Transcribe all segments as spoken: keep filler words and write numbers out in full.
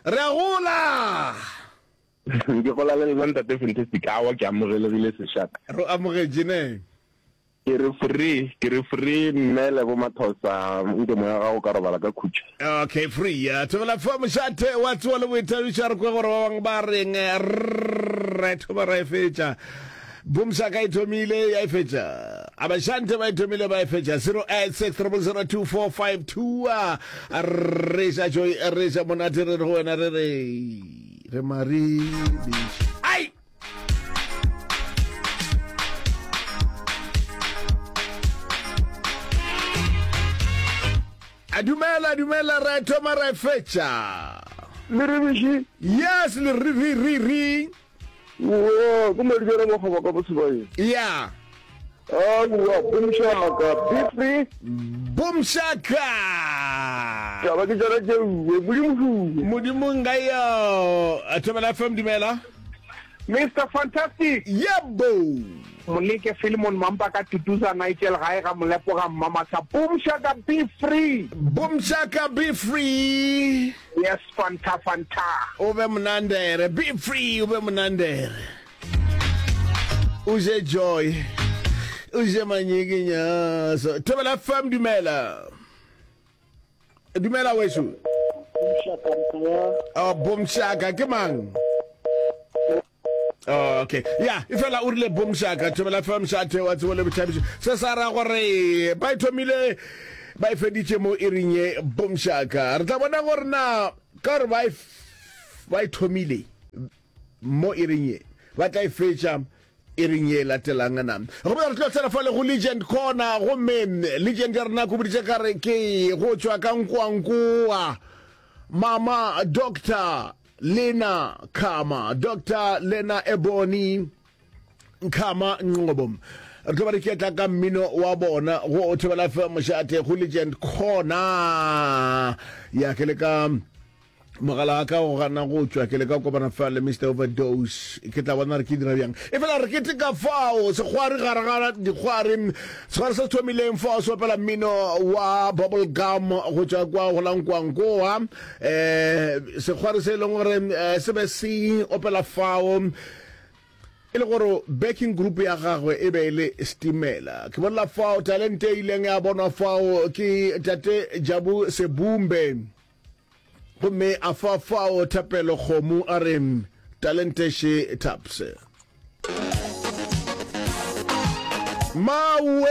Re a gola. Ke gola le lena ntate Fantastic. Awa ke amogelegile sešaka. Re amogetše ne. Ke re free, ke re free mme Lebo Mathosa, nke moya wa gago o ka robala ka khutšo. Okay, free. Thobela fa mošate wa tsoa le boithabišo, a re kwe gore ba bangwe ba reng. Re thoma ra e fetša. Boomshaka e thomile ya e fetša. Abashante ba e thomile ba e fetša. Zero eight six triple zero two four five two. Re ja joy, re ja monate, re re go wena re re re mari bish. Ai! A dumela, dumela, re thoma re fetša. Le re bishi? Yes, le re re re re. Wo, ke Madibela Makgoba ka Bosebaeng. Ya. Aowa, Boomshaka, be free. Boomshaka. Taba ke tšona tšeuwe, Modimo huwe. Modimo nka yo. Thobela F M dumela. Mister Fantastic. Yebo. Moleke Philemon Mampa ka Tutuza Nigel gae ga Molepo ga Mmamasa. Boomshaka be free. Boomshaka be free. Yes, Fanta Fanta. O be monandere, be free, o be monandere. O je joy. O je manyikinyaso. Thobela F M dumela. Dumela wešu. Oh, Boomshaka ke mang? Oh, okay. Ya, e fela o rile Boomshaka, Thobela F M šate wa tsebo le bothabišo. Se sa ra gore ba e thomile ba e feditše mo iring ye Boomshaka. Re tla bona gore na ka gore ba e ba e thomile mo iring ye ba tla e fetša iring ye latelang na. Gomme re tlo tsena fa le go Legend Corner, gomme Legend ya rena ko boditše ka re ke go tšwa ka nkoankoa Mama Doctor Lena Khama, Doctor Lena Ebony Khama Nqobo. Re tlo ba re ketla ka mmino wa bona go Thobela F M mošate go Legend Corner. Ya ke le ka mogala wa ka go gana go tšwa, ke le ka kopana fa le Mister Overdose, ke tla bona re ke dira bjang. E fela re keteka fao sekgwari gare ga dikgwari, sekgwari se se thomileng fao se opela mmino wa bubble gum go tšwa kwa go la Nkwankoa. Eh, sekgwari se e leng gore, eh, se be se opela fao e le gore backing group ya gagwe e be e le Stimela. Ke bolela fao talente e ileng ya bonwa fao ke tate Jabu Sebumbe, gomme a fa fao Thapelo Kgomo a re talente she taps. Mawe,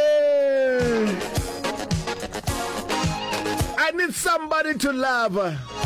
I need somebody to love.